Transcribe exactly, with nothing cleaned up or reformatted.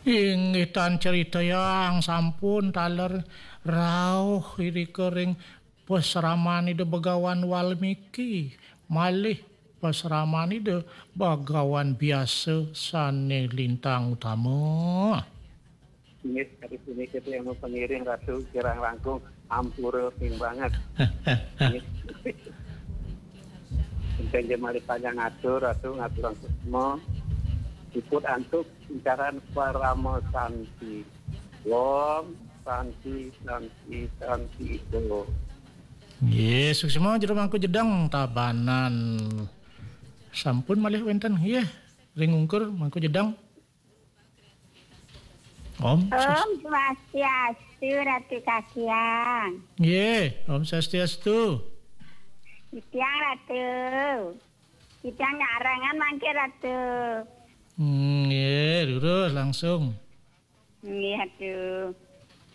Inggih tan ceritayang sampun taler rauh irika ring pasraman Ida Begawan Walmiki malih pasraman Ida Begawan Biasa sane lintang utama. Inggih, kadi punika tiang pangiring Ratu kirang langkung ampura ping banget. Inggih. Inten ja malih panjang atur, Ratu ngaturang suksma. Iput antuk incaran parama santi. Om santi, santi, santi. Nggih, suksma Jero Mangku Jedeng Tabanan. Sampun malih wenten nggih ring ungkur Mangku Jedeng. Om Om Swastiastu, Ratu Kakiang. Nggih, Om Swastiastu. Titiang, Ratu. Titiang nyarengan mangke, Ratu. Hmm, nggih, lurus langsung. Nggih, Ratu.